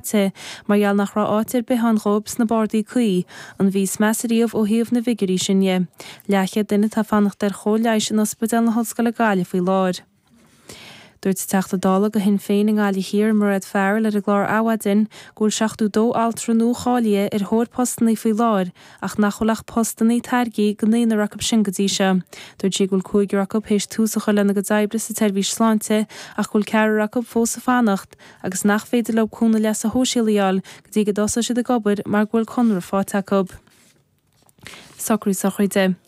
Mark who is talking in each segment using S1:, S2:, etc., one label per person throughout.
S1: Caite mar gheall nach raibh áit ar bith ann dhóibh sna bardaí cuí, an mhí is measa riamh ó thaobh na bhfigiúirí sin dhe. Leathchéad duine atá ag fanacht ar chóir leighis in Ospidéal na hOllscoile Gaillimh faoi láthair. Dúirt an Teachta Dála do Shinn Féin i nGaillimh Thiar, Mairéad Farrell ar an gclár Adhmhaidin go bhfuil 72 altra nua-cháilithe ar thóir postannaí faoi láthair ach nach bhfuil ach postannaí tairgthe do naonúr acu sin go dtí seo. Dúirt sí go bhfuil cúigear acu théis tús a chur lena gcuid oibre sa tseirbhís sláinte ach go bhfuil ceathrar acu fós ag fanacht agus nach féidir leo cúnamh leasa shóisialaigh a fháil go dtí go dtosóidh siad ag obair mar go bhfuil conradh faighte acu. Socrú sochraide.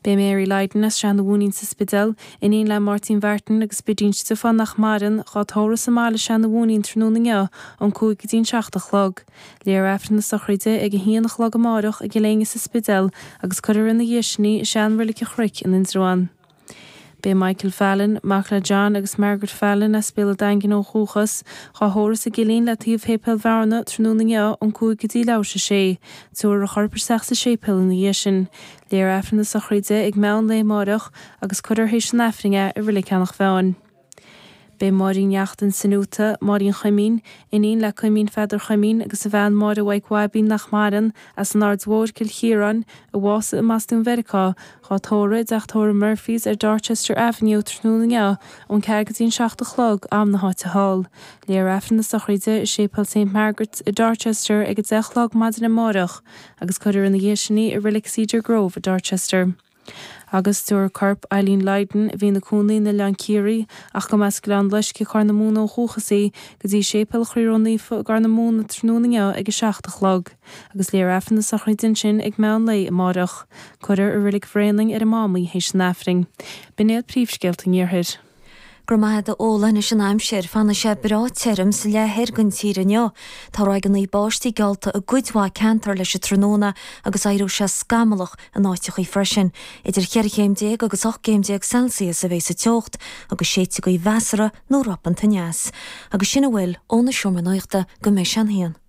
S1: Beidh Mary Lydon as Srath na Mhúinín sa Spidéal, iníon le Máirtín Mhartin agus Bidín Stiofáin nach maireann, dhá tórramh sa mbaile i Srath na Mhúinín tráthnóna inniu ón 5 go dtí an 7 a chlog. Léifear Aifreann na sochraide ag 1 a chlog amáireach i gCill Éinne sa Spidéal agus cuirfear ina dhiaidh sin í i sean-Reilig an Chnoic in Indreabhán. Beidh Michael Fallon, mac le John agus Margaret Fallon as Béal an Daingin ó dhúchas, dhá thórramh sa gCillín le taobh Shéipéal Bhearna tráthnóna inniu ón 5 go dtí leathuair tar éis a sé. Tabharfar a chorp isteach sa séipéal ina dhiaidh sin. Léifear Aifreann na sochraide ag meán lae amáireach agus cuirfear théis an Aifrinn é i Reilig Eanach Mheáin. Beidh Máirín Neachtain Sinuata, Máirín Chuimín, iníon le Cuimín Pheadair Chuimín agus a bhean Máire Mhaidhc Bhaibín nach maireann, as an Aird Mhóir, Cill Chiaráin, a bhásaigh i mBostún Mheiriceá, dhá tórramh i dteach tórraimh Murphy's ar Dorchester Avenue tráthnóna inniu ón 4 go dtí an 7 a chlog, am na háite thall. Léifear Aifreann na sochraide i Séipéal Saint Margaret's i Dorchester ag 10 a chlog maidin amárach agus cuirfear ina dhiaidh sin í i Reilig Cedar Grove i Dorchester. Agus tabharfar corp Eileen Lydon, a bhí ina cónaí in Oileán Ciarraí ach go mb'as Gleann Loiscthe, Corr na Móna ó dhúchas í, go dtí Séipéal an Chroí Ró-Naofa i gCorr na Móna tráthnóna inniu ag 7 a chlog, agus léifear Aifreann na sochraide ansin ag meán lae amárach. Cuirfear i Reilig Bhréanainn ar an Mám í théis an Aifrinn. B'in iad príomhscéalta an Iarthair.
S2: Go raibh maith agat a Fhódhla. Anois an aimsir. Fanfaidh sé breá tirim sa leath thoir den tír inniu. Tá ráigeanna báistí geallta i gcuid mhaith ceantar leis an tráthnóna agus éireoidh sé scamallach in áiteachaí freisin. Idir cheithre chéim déag agus 18 gcéim Celsius a bheidh sa teocht agus séidfidh gaoth mheasartha nó ropanta aneas. Agus sin a bhfuil ón Seomra Nuachta go mbeidh sé an haon.